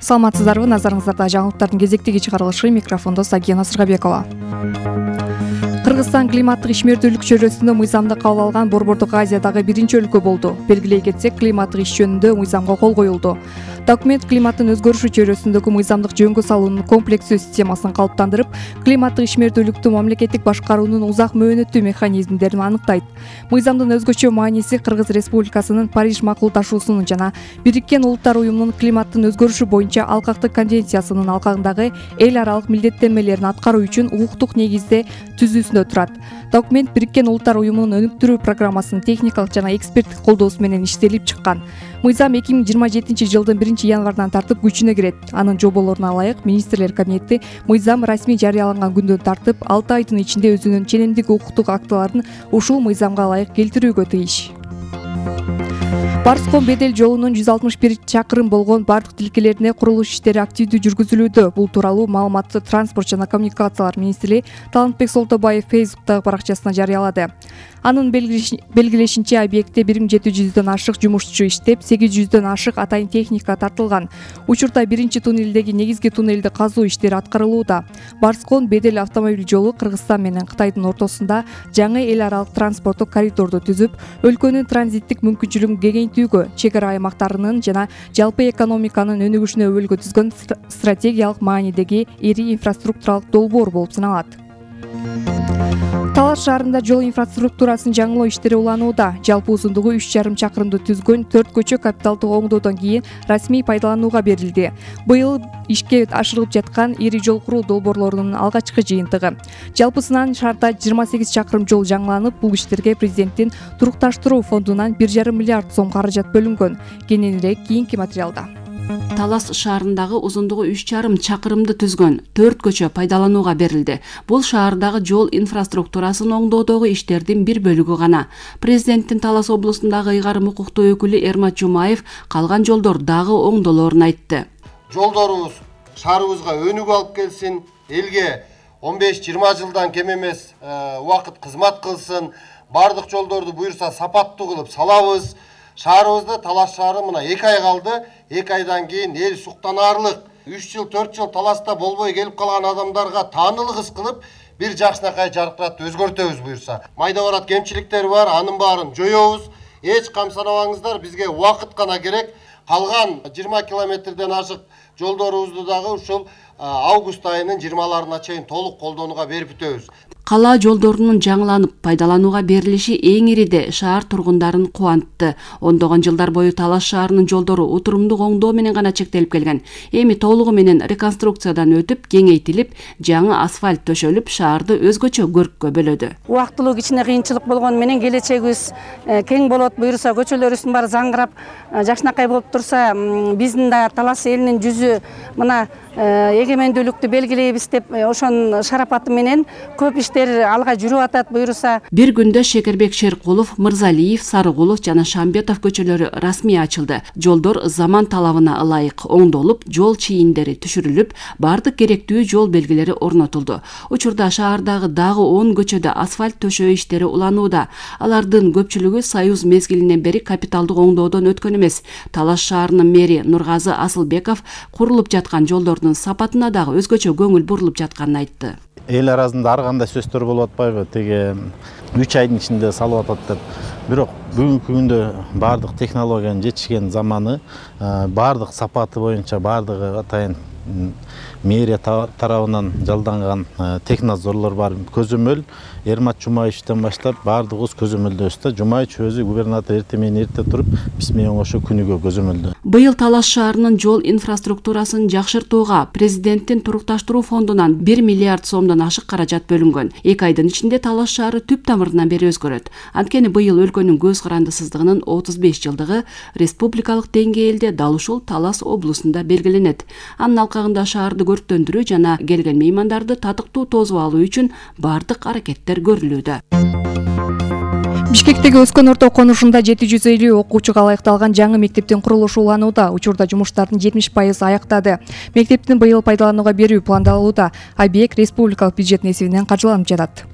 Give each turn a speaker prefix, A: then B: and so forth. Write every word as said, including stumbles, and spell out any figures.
A: Саламатсыздарбы, назарыңыздарда жаңылыктардын кезектеги чыгарылышы, микрофондо Сагина Сыргабекова. Кыргызстан климаттык ишмердүүлүк чөйрөсүндө мыйзамды кабыл алган Борбордук Азиядагы биринчи өлкө болду. Белгилей кетсек, климаттык иш жөнүндө мыйзамга кол коюлду. Документ климаттын өзгөрүшү чөйрөсүндөгү мыйзамдык жөнгө салуунун комплекстүү системасын калыптандырып, климаттык ишмердүүлүктү мамлекеттик башкаруунун узак мөөнөттүү механизмдерин аныктайт. Мыйзамдын өзгөчө мааниси Кыргыз Республикасынын Париж макулдашуусунун жана Бириккен Улуттар уюмунун климаттын өзгөрүшү боюнча алкактык конвенциясынын алкагындагы эл аралык милдеттенмелерин аткаруу үчүн укуктук негизде түзүүсүндө турат. Документ Бириккен Улуттар уюмунун өнүктүрүү программасынын техникалык жана эксперттик колдоосу менен иштелип чыккан. Мыйзам эки миң жыйырма жетинчи жылдын биринчи январынан тартып күчүнө кирет. Анын жоболоруна ылайык министрлер кабинети мыйзам расмий жарыяланган күндөн тартып алты айдын ичинде өзүнүн ченемдик укуктук актыларын ушул мыйзамга ылайык келтирүүгө тийиш. Барскон Бедел жолунун жүз алтымыш бир чакырым болгон бардык тилкелерине курулуш иштери активдүү жүргүзүлүүдө. Бул тууралуу маалыматты Транспорт жана коммуникациялар министри Талантбек Солтобаев Фейсбуктагы баракчасына жарыялады. Анын белгилешинче, объектте бир миң жети жүздөн ашык жумушчу иштеп, сегиз жүздөн ашык атайын техника тартылган. Учурда биринчи туннелдеги негизги туннелди казуу иштери аткарылууда. Барскон Бедел автомобиль жолу Кыргызстан менен Кытайдын ортосунда жаңы эл аралык транспорттук коридорду түзүп, өлкөнүн транзиттик мүмкүнчүлүгүн кеңейтүүгө, чек ара аймактарынын жана жалпы экономиканын өнүгүшүнө өбөлгө түзгөн стратегиялык маанидеги ири инфраструктуралык долбоор болуп саналат. Талас шаарында жол инфраструктурасын жаңылоо иштери уланууда. Жалпы узундугу үч жарым чакырымды түзгөн төрт көчө капиталдык оңдоодон кийин расмий пайдаланууга берилди. Быйыл ишке ашырылып жаткан ири жол куруу долбоорлорунун алгачкы жыйынтыгы. Жалпысынан шаарда жыйырма сегиз чакырым жол жаңыланып, бул иштерге президенттин турукташтыруу фондунан бир жарым миллиард сом каражат бөлүнгөн. Кененирээк кийинки материалда.
B: Талас шаарындагы узундугу үч жарым чакырымды түзгөн төрт көчө пайдаланууга берилди. Бул шаардагы жол инфраструктурасын оңдоодогу иштердин бир бөлүгү гана. Президенттин Талас облусундагы ыйгарым укуктуу өкүлү Эрмат Жумаев калган жолдор дагы оңдолоорун айтты.
C: Жолдорубуз шаарыбызга өнүгүү алып келсин, элге он беш жыйырма жылдан кем эмес убакыт кызмат кылсын, бардык жолдорду буюрса сапаттуу кылып салабыз. Шаарыбызда Талас шаары мына эки ай калды. эки айдан кийин эл суктанаарлык. үч жыл, төрт жыл Таласта болбой келип калган адамдарга таанылык ыс кылып, бир жакшынакай жаркыратты өзгөртөбүз буюрса. Майда барат кемчиликтер бар, анын баарын жоёбуз. Эч камсанабаңыздар, бизге убакыт гана керек. Калган жыйырма километрден ашык жолдорубузду дагы ушул август айынын жыйырмаларына чейин толук колдонууга берип бүтөбүз.
B: Кала жолдорунун жаңыланып пайдаланууга берилиши эң ириде шаар тургундарын кубантты. Ондогон жылдар бою Талас шаарынын жолдору утурумдук оңдоо менен гана чектелип келген. Эми толугу менен реконструкциядан өтүп, кеңейтилип, жаңы асфальт төшөлүп, шаарды өзгөчө көрккө бөлөдү.
D: Убактылуу кичине кыйынчылык болгону менен келечегибиз кең болот, буюрса көчөлөрүбүздүн баары заңгырап, жакшынакай болуп турса, биздин да Талас элинин жүзү мына эгемендүүлүктү белгилейбиз деп ошонун шарапаты менен көп иштер алга жүрүп атат буюрса.
B: Бир күндө Шекербек Шеркулов, Мырзалиев, Сарыгулов жана Шамбетов көчөлөрү расмий ачылды. Жолдор заман талабына ылайык оңдолуп, жол чийиндери түшүрүлүп, бардык керектүү жол белгилери орнотулду. Учурда шаардагы дагы он көчөдө асфальт төшөө иштери уланууда. Алардын көпчүлүгү Союз мезгилинен бери капиталдык оңдоодон өткөн эмес. Талас шаарынын мэри Нургазы Асылбеков курулуп жаткан жолдордун сапатына дагы өзгөчө көңүл бурулуп жатканын айтты.
E: Эл арасында ар кандай сөздөр болуп атпайбы, теге үч айдын ичинде салып атат деп. Бирок бүгүнкү күндө бардык технологиянын жетишкен заманы, бардык сапаты боюнча бардыгы атайын мэрия тарабынан жалданган технадзорлор бар. Көзөмөл Эрмат Жумаевичтен баштап бардыгыбыз көзөмөлдөбүз да. Жумаевич өзү губернатор эрте менен эрте туруп, биз менен оңошо күнүгө көзөмөлдө.
B: Быйыл Талас шаарынын жол инфраструктурасын жакшыртууга президенттин турукташтыруу фондунан бир миллиард сомдон ашык каражат бөлүнгөн. эки айдын ичинде Талас шаары түп тамырынан бери өзгөрөт. Анткени быйыл өлкөнүн көз карандысыздыгынын отуз беш жылдыгы республикалык деңгээлде дал ушул Талас облусунда белгиленет. Анын алкагында шаарды көрктөндүрүү жана келген меймандарды татыктуу тосуп алуу үчүн бардык аракеттер көрүлүүдө.
A: Бишкектеги Өскөн орто конушунда жети жүз элүү окуучуга ылайыкталган жаңы мектептин курулушу уланууда. Учурда жумуштардын жетимиш пайызы аяктады. Мектептин быйыл пайдаланууга берүү пландалууда. Объект республикалык бюджеттин эсебинен каржыланып жатат.